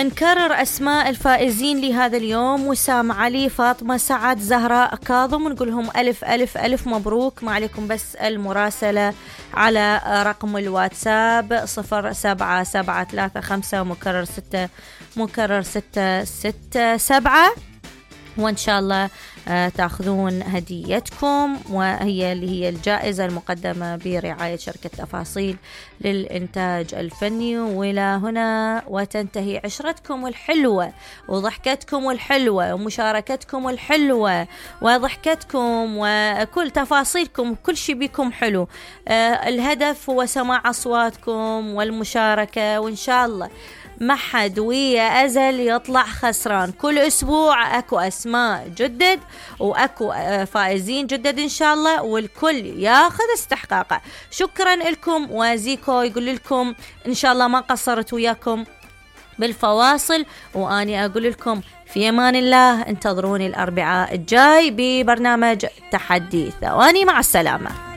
نكرر أسماء الفائزين لهذا اليوم: وسام علي، فاطمة سعد، زهراء كاظم. نقول لهم ألف ألف ألف مبروك. ما عليكم بس المراسلة على رقم الواتساب 07735 مكرر 667 وإن شاء الله تأخذون هديتكم، وهي اللي هي الجائزة المقدمة برعاية شركة تفاصيل للإنتاج الفني. وإلى هنا وتنتهي عشرتكم الحلوة وضحكتكم الحلوة ومشاركتكم الحلوة وضحكتكم وكل تفاصيلكم، كل شيء بيكم حلو. الهدف هو سماع أصواتكم والمشاركة، وإن شاء الله ما حد ويا أزل يطلع خسران. كل أسبوع أكو أسماء جدد وأكو فائزين جدد إن شاء الله، والكل ياخذ استحقاقه. شكرا لكم، وزيكو يقول لكم إن شاء الله ما قصرت وياكم بالفواصل، وأني أقول لكم في أمان الله. انتظروني الأربعاء الجاي ببرنامج تحدي ثواني. مع السلامة.